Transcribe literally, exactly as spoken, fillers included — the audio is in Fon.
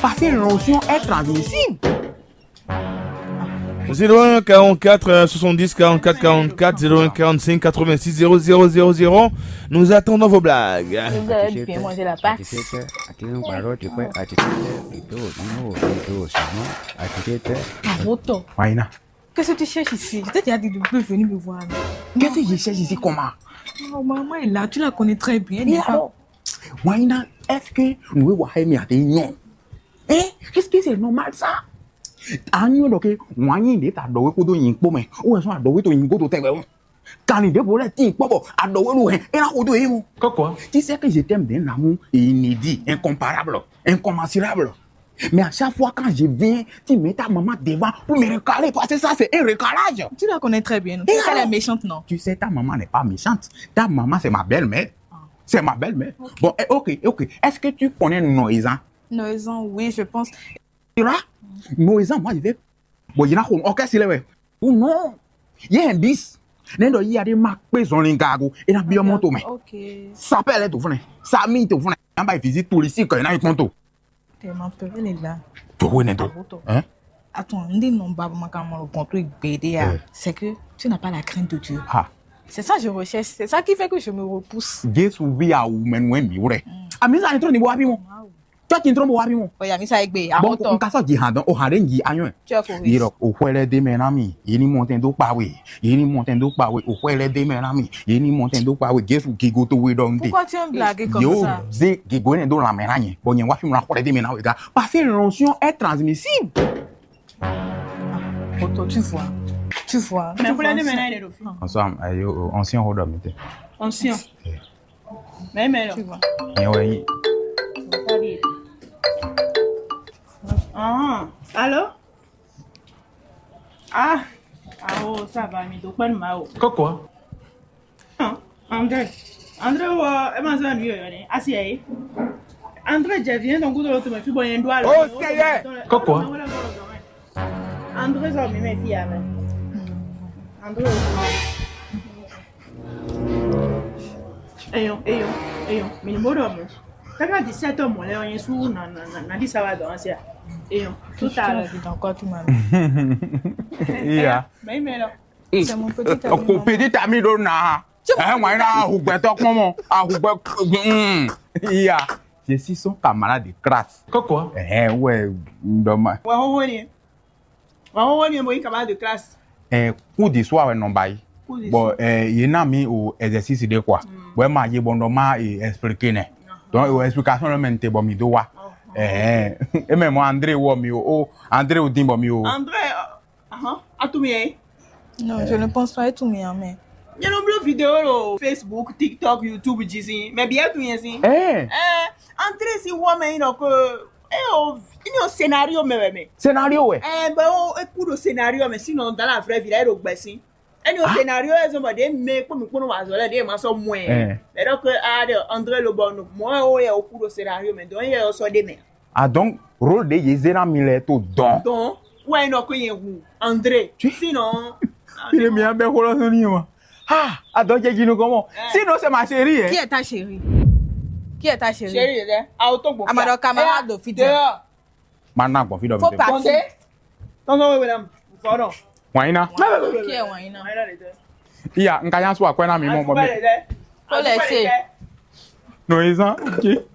Parce que l'onction est transmissible. Zéro un quarante-quatre soixante-dix quarante-quatre quarante-quatre, zéro un quarante-cinq quatre-vingt-six zéro zéro zéro zéro. Nous attendons vos blagues. Vous avez bien mangé la pâte. Architecte, architecte, architecte, plutôt, non, plutôt, sinon, architecte. Arrête. Maïna, Qu'est-ce que tu cherches ici? Je t'ai déjà dit de ne plus venir me voir. Qu'est-ce que je cherche ici comment? Oh, maman est là, tu la connais très bien. Elle n'est pas... Maïna, est-ce que nous voyons Wahemi à des noms? Hein? Qu'est-ce que c'est normal ça? Anyo, donc, wanyi de ta dowe kodo yin kpome. Ou est-ce que dowe to yin kodo tebe? Kani de bole tin kpobo, adowe lu hen. Et là, kodo yin. Quoi, quoi? Tu sais que je t'aime d'un amour inédit, incomparable, incommensurable. Mais à chaque fois quand je viens, tu mets ta maman devant pour me recaler, parce que ça c'est un recalage. Tu la connais très bien. Et Tu sais qu'elle alors? Est méchante, non? Tu sais, ta maman n'est pas méchante. Ta maman, c'est ma belle-mère. C'est ma belle-mère. Bon, eh, ok, ok. Est-ce que tu connais Noéza? Noézan, oui, je pense. Tu vois? Noéza, moi, je vais. Bon, il y en a qui ont orchestré, ouais. Ou non? Il y a un bis. Nendo, il y a des marques, ils ont les gagos. Et la bien monto, mais. Ok. Ça peut aller tout venir. Ça mine tout venir. En bas, visite touristique, il y en a un compte. Tellement peur, elle est là. Tu vois, Nendo. Arrête. Hein? Attends, on dit non, bah, maman, quand on le contrôle, B D A, Euh. C'est que tu n'as pas la crainte de Dieu. Ah. C'est ça que je recherche. C'est ça qui fait que je me repousse. Jésus vit à ou, mais nous, mi, ouais. Ah, mais ça, il est trop de bois, piment. Toi, tu es trop de bois, piment. Oh, il y a mis ça avec B. Bon, Arrête. N ka sɔ́ ji han dɔn, o han ɖe n ji anyɔ. Tu as corrigé. Yirɔ, o xwɛ lɛ de mɛ na mi. Yi ni mɔ tɛn dó kpa we. Yi ni mɔ tɛn dó kpa we. O xwɛ lɛ de mɛ na mi. Yi ni mɔ tɛn dó kpa we. Jesu gigo to we ɖɔ n de. Pourquoi tu es un blague comme Yo, ça? ze gigo ne ɖo lanmɛ na nyɛ. Bɔ nyɛ wa fi mla xwɛ lɛ de mɛ na we ga. Parce que l'onction est transmissible. Arrête, tu vois. Tu vois. Mais Tu vous l'avez vois, maintenant, il est le fils. Ensemble, ayo, ancien rodɔ mi te. Ancien. Mais, mais là. Tu vois. Nyɛ wɛ yi. Ah, allô? Ah, ah, oh, ça va, mais donc, pas de mal. Quoi, quoi? Ah, André. André, ouais, elle m'a dit, lui, elle est assise, hein. André, je viens, donc, vous avez tout, mais tu vois, il y a un doigt là. Oh, Seigneur. Quoi, quoi? André, ça, mais, mais, fille, là. André, eyo, eyo, eyo, mi ni bó ɖɔ mɔ̌. Káká dix-sept heures mɔ̌ lɛ́ɛ ɔ́, nyɛ sú nǎ nǎ nǎ nǎ ɖi sábà dɔn ɔ́ sia. Eyo, tout à l'heure. Dans quoi tu m'as Iya. Mɛ yi mɛ lɔ. C'est mon petit ami. Oko pedi tami ɖo na. Ɛ ŋwa yi na ahugbɛtɔ kpɔn mɔ ahugbɛ. Mm. Iya. Je suis son camarade de classe. Quoi, quoi? Ɛhɛn, wɛ n dɔ ma. Wà hóhó ni. Wà hóhó ni mo yí camarade de classe. Ɛ, cours du soir wɛ nɔ ba yi. Cours du Bon, soir. Ɛ, yé na mi o exercice ɖé quoi. Bon, ɛ ma yé bɔ n dɔ ma e expliquer nɛ. Donc o explication lɔ mɛ n te bɔ mi do wa. Ɛhɛn. E mɛ mɔ André wɔ mi o. O André o din bɔ mi o. André, ahan, atu mi yɛ. Non, je ne pense pas être mien, mais Nyɛ nɔ bló vidéo ɖo Facebook, TikTok, YouTube jí sín. Mɛ biɛ tun yɛ sín. Ɛ, Ɛ, André si wɔ mɛ yin nɔ ko. E o, ini o scénario mɛ wɛ mɛ. Scénario wɛ. Ɛ, bɛ o, e ku ɖo scénario mɛ, sinon dans la vraie vie la e ɖo gbɛ sín. Eni o scénario e zɔn bɔ ɖe mɛ kpó mi kpó nɔ wa azɔ lɛ ɖe ma sɔ mɔɛ. Ɛ. Mɛ ɖɔ ke a ɖe André lo bɔ no mɔ o yɛ o ku ɖo scénario mɛ, donc yɛ o sɔ ɖe mɛ. Ah, donc rôle ɖe yé zé na mi lɛ to dɔn. Donc, wɛ nɔ ko yɛ hu André. Sinon, Il est bien bɛ xolɔ sɔn ni wa. Ah, ah, donc j'ai dit nous comment? Sinon c'est ma chérie, hein. Qui est ta chérie? Qui est ta chérie? Chérie, dɛ, a o to gbɔ. Ama ɖɔ camarade de fille. Dehors. Ma na gbɔn fi dɔ Faut mi. partir. Tɔnsɔn wewe la, fɔdɔn. Wanyina. Qui est Wanyina? Iya, n ka nya so akwɛ na mi mɔ mɔ mi. Faut laisser. No ezan. Ok.